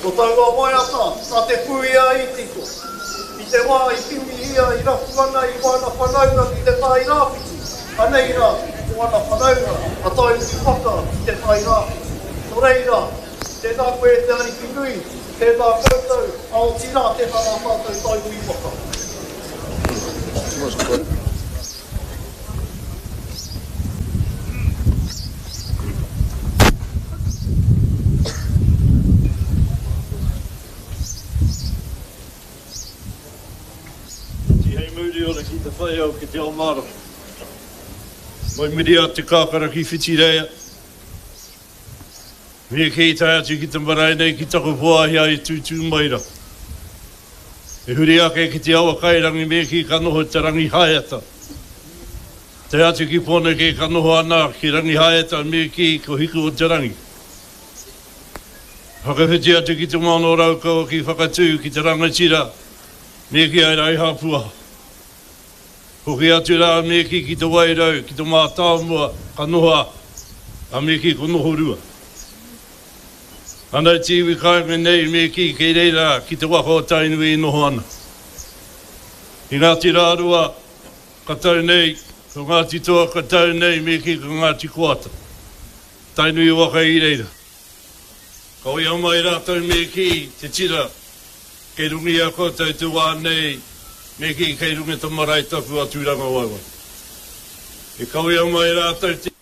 Ko taua waiata nā Te Puia i tito. I te wā i kimihia, i rapu ana i wana whanaunga ki te Tai Rāwhiti, anei rā ko ana whanaunga a Tainui waka ki te Tai Rāwhiti. Nō reira, tēnā koe e te Ariki nui, tēnā koutou, a otirā tēnā rā tātou Tainui waka. Tihei mauri ora ki te whai au ki te ao mārama. Mai muri a Te Kākara ki Whitireia. Me kī tae atu ki te marae nei ki taku whāhia i tūtū mai ra. E huri ake ki te awa kairangi me kī ka noho te Rangihaeata. Tae atu ki Pōneke ka noho ana ki Rangihaeata me kī ko Hiku o te Rangi. Whakawhiti atu ki Te Moana o Raukawa ki Whakatū ki te rangatira me kī ai Raihāpua. Hoki atu rā a Meki ki Te Wairau, ki Te Mātāmua, ka noho a Meki ko Nohorua. Ana te iwi kāinga nei Meki kei reira ki te waka o Tainui e noho ana. I Ngāti Rārua ka tau nei, ko Ngāti Toa ka tau nei Meki ko Ngāti Koata. Tainui waka i reira. Kawea mai rātou Meki te tira. Kei runga i a koutou te wā nei, me kī kei runga te marae tapu a Tūrangawaewae. E kawea mai rātou te.